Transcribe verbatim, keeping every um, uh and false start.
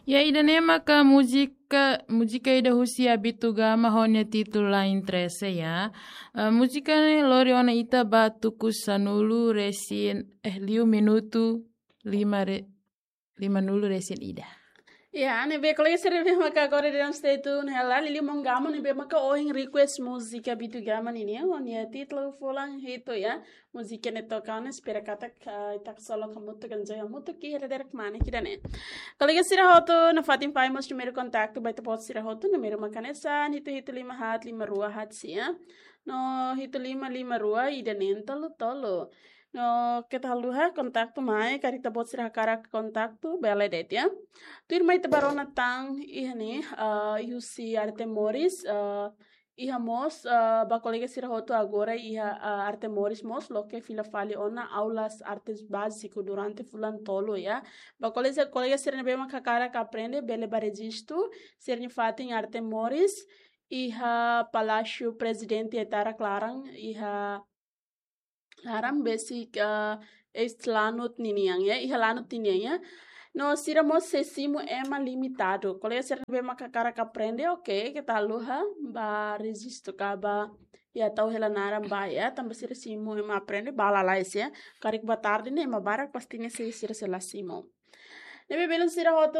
Ya, ida-ne'e maka múzika, múzika ida husi Abitu Gama ho nia títulu Lain Trese ya. Eh, múzika ne'e lori ona ita ba tuku sanulu resin, eh, liu minutu lima re-, lima nulu resin ida. Ya, ne'ebé kolega sira ne'ebé maka agora daudaun stay tune hela, liuliu maun Gama ne'ebé maka ohin request múzika Abitu Gama ninian, ho nia títulu Fulan Hitu ya. Múzika ne'e toka ona, espera katak, ah, ita ksolok hamutuk, enjoy hamutuk, ki hera derek mane kida ne'e. Kolega sira hotu, nafatin fai mós númeru kontaktu ba ita-boot sira hotu, númeru maka hanesan, hitu hitu lima haat lima rua haat sia. No hitu lima lima rua ida neen tolu tolu. No keta haluha kontaktu mai, karik ita-boot sira hakarak kontaktu, bele de'it ya. Tuirmai ita ba rona tan, iha ne'e, ah, husi Arte Moris, ah, iha mós, ah, ba kolega sira hotu agora iha, ah, Arte Moris mós loke fila fali ona aulas artes báziku durante fulan tolu ya. Ba kolega, kolega sira ne'ebé maka hakarak aprende bele ba rejistu, sira-nia fatin Arte Moris, iha Palásiu Prezidente Etara Klaran, iha laran besik, ah, eis lanut ninian ya, iha lanut ninian ya. No sira mós sei simu ema limitadu. Kolega sira ne'ebé maka hakarak aprende, oke, keta haluha ba rejistu ka ba, ya, tau hela naran ba ya, tanba sira simu ema aprende ba lalais ya. Karik ba tarde ne'e ema barak pasti ne'e sei sira sei la simu. Ne'ebé belun sira hotu